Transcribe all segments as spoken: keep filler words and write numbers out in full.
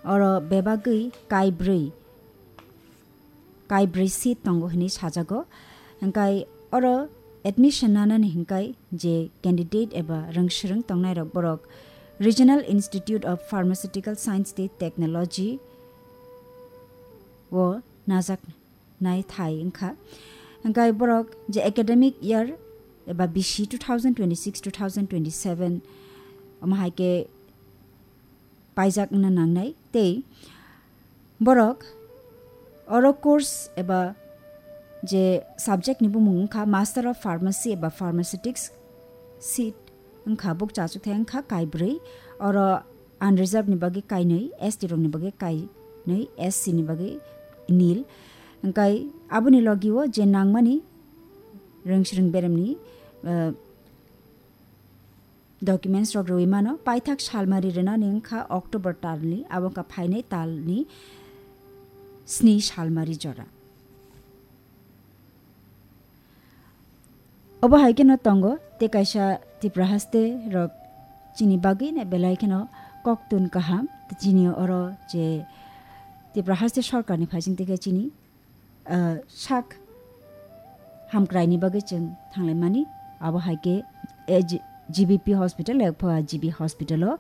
oro bebagwi kaibrwi, kaibrwi seat tongo hinwi sajago. Hingkai oro admission nanani hingkai je candidate eba rwngswrwng tongnairok borok Regional Institute of Pharmaceutical Science tei Technology o najak nai thai wngkha. Hingkai borok je academic year eba bisi two thousand twenty-six two thousand twenty-seven omo hai khe paijak wngna nangnai tei borok oro course eba je subject ni bumung wngkha Master of Pharmacy eba Pharmaceutics seat wngkha, bukcha achukthai wngkha kaibrwi, oro unreserved ni bagwi kainwi, S T rok ni bagwi kainwi, S C ni bagwi nil. Hingkai aboni logi o je nangmani rwngswrwng beremni, eh, documents rok rwui mano, paithak salmari rwnani wngkha October talni, abo wngkha phainai talni sni salmari jora. Obo hai kheno tongo, tei kaisa Tripura haste rok chini bagwi no belai kheno koktun kaham, tei chini oro je Tripura haste sorkarni phaising tei khe chini, ah, sak hamkraini bagwi chwng thanglaimani, abo hai khe, eh, G-, G B P hospital, yak pha G B hospital o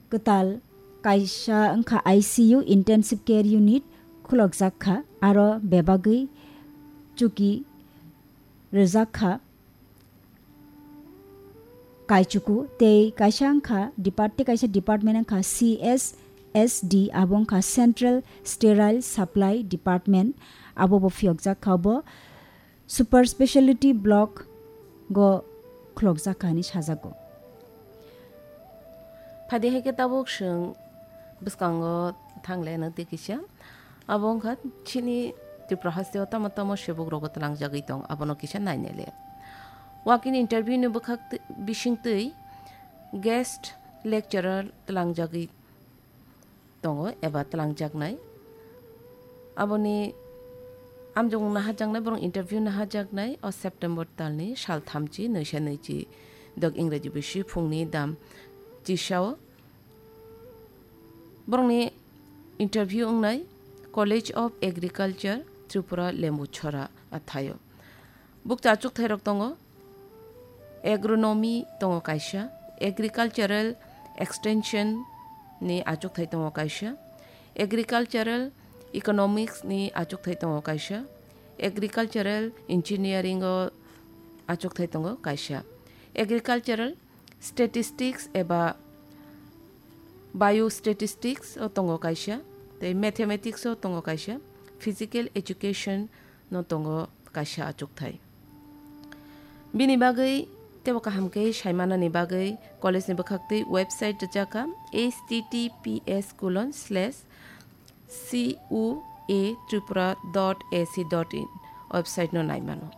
kwtal kaisa wngkha I C U, Intensive Care Unit, khulokjak kha, aro bebagwi chuki rwjak kha kaichuku, tei kaisa wngkha depart-, tei kaisa department wngkha C S S D, abo wngkha Central Sterile Supply Department, abo bo phiyokjak kha, bo Super Speciality Block go khulokjak kha hinwi sajago. Phadi hai khe tabuk chwng bwskango thangle no tei kisa. Abo wngkha chini Tripura hasteo tamo tamo sebuk rogo tlangjagwi tong, abono kisa nainai le. Walk-in interview ni bwkhak twi-, bising twi guest lecturer tlangjagwi tongo eba tlangjaknai. Aboni amjokmung naharjaknai, borok interview naharjaknai o September talni sal thamchi, nwisa nwichi dok Ingreji bisi phungni dam chisao. Borokni interview wngnai College of Agriculture, Tripura, Lembuchhora athaio. Bukcha achukthai rok tongo, agronomy tongo kaisa, agricultural extension ni achukthai tongo kaisa, agricultural economics ni achukthai tongo kaisa, agricultural engineering o achukthai tongo kaisa, agricultural statistics eba biostatistics o tongo kaisa, tei mathematics o tongo kaisa, physical education no tongo kaisa achukthai. Bini bagwi teibo kaham khe saimanani bagwi college ni bwkhaktwi website rijak kha, H T T P S colon slash C U A tripura dot A C dot in website no naimano.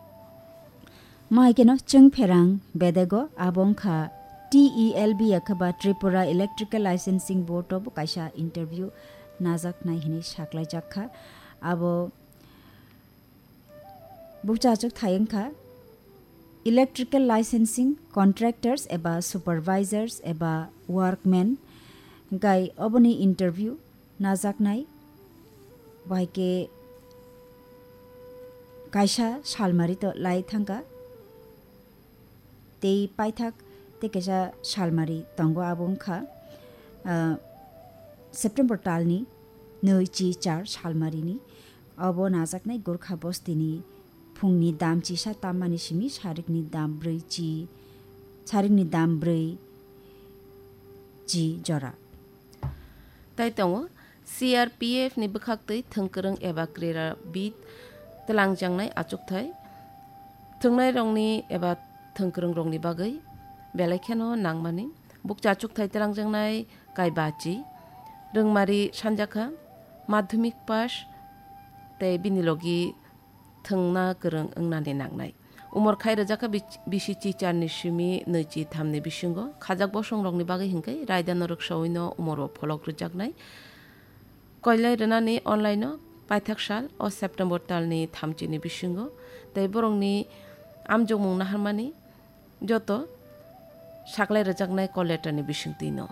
Mahaikeno chwng pherang bedego abo wngkha T E L B, yakhe ba Tripura Electrical Licensing Board o bo kaisa interview najaknai hinwi saklaijak kha. Abo bukcha achukthai wngkha electrical licensing contractors eba supervisors eba workmen, hingkai oboni interview najaknai, bai khe kaisa salmari to lai thangkha. Tei paithak tei kaisa salmari tongo, abo wngkha, ah, September talni nwi chi char salmarini. Obo najaknai Gorkha bostini phungni dam chisa tammani simi sarikni dam brwi chi, sarikni dam brwi chi jora. Tai tongo, C R P F ni bwkhaktwi thwngkwrwng eba krirabid twlangjaknai achukthai. Thwngnairokni eba thwngkwrwngrokni bagwi belai kheno nangmani. Bukcha achukthai twlangjaknai kaibachi, rwngmari sanjakha, madhyamik pass tei bini logi thwngna kwrwng wngnani nangnai. Umor khai rwjakha bich-, bisi chicharni simi nwichi thamni bisingo khajak bosongrokni bagwi hinkhe raida norok sawino umoro pholok rwjaknai. Koilai rwnani online-o paithak sal o September talni thamchini bisingo tei borokni amjokmung naharmani joto saklai rwjaknai call letter-ni bisingtwino.